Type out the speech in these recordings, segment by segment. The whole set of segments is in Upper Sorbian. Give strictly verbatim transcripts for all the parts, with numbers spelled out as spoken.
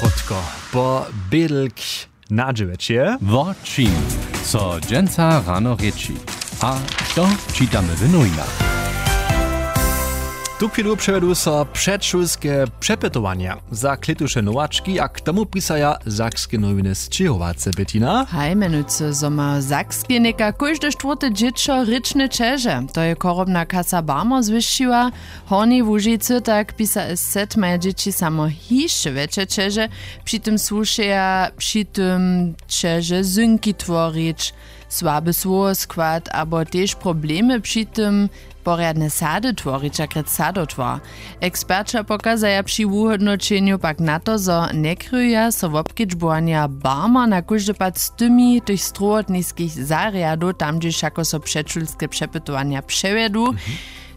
Krótko po bědelk na dźewjeće. Wo čim so dźensa rano rěči a što čitamy w nowinach? Tuchwilu přewjedu so předšulske přepytowanja za klětuše nowački a k tomu pisaja sakske nowiny sćěhowace. Bettina, haj, mjenujcy zo ma w sakskej něka kóžde štwórte dźěćo rěčne ćeže. To je chorobna kasa barmo zwěsćiła. Hornjej łužicy tak pisa sz maja dźěći samo hišće wjetše ćeže. Při tym słušeja při tym ćeže zynki tworić, słaby słowoskład abo tež problemy při tym porjadne sady tworić a krjec sadotwar. Eksperća pokazaja při wuhódnoćenju pak na to zo njekryjuja so wobkedźbowanja barma na kóždy pad z tymi tych strowotniskich zarjadow tam hdźež wšako so předšulske přepytowanja přewjedu.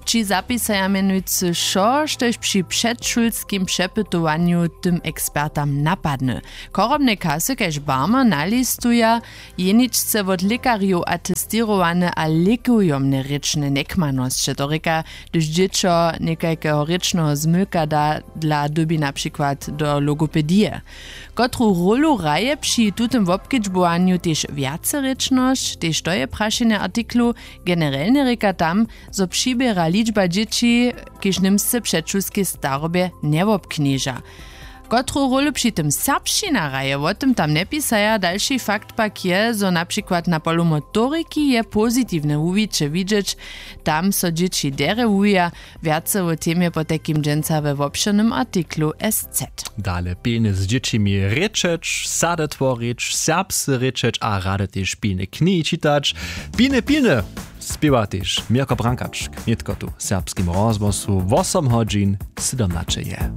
Ći zapisaja mjenujcy wšo štož při předšulskim přepytowanju tym ekspertam napadny. Chorobne kasy kaž barma nalistuja jeničce wot lěkarjow atestěrowane a lěkujomne rěčne njekmanosće, to rěka hdyž dźěćo někajkeho rěčneho zmylka da dla dyrbi na přikład do logopedije. Kotru rólu hraje při tutym wobkedźbowanju tež wjacerěčnosć? Tež to je prašenje artiklow. Generelnje rěka tam, zo přiběra ličba dźěći kiž w němsce předšulskej starobje njewobknježa. Kotru rólu při tym serbšćina hraje, wo tym tam njepisaja. Dalši fakt pak je zo na přikład na polu motoriki je pozitiwne wuwiće widźeć. Tam so dźěći derjewuja. Wjace wo temje potajkim dźensa we wobšěrnym artiklu. Sz. Dale pilnje z dźěćimi rěčeć, sady tworić, serbsce rěčeć a rady tež pilnje knihi čitać. Pilnje pilnje spěwa tež měrko brankačk nětko tu w serbskim rozhłosu wosom hodźin sydomnaće je.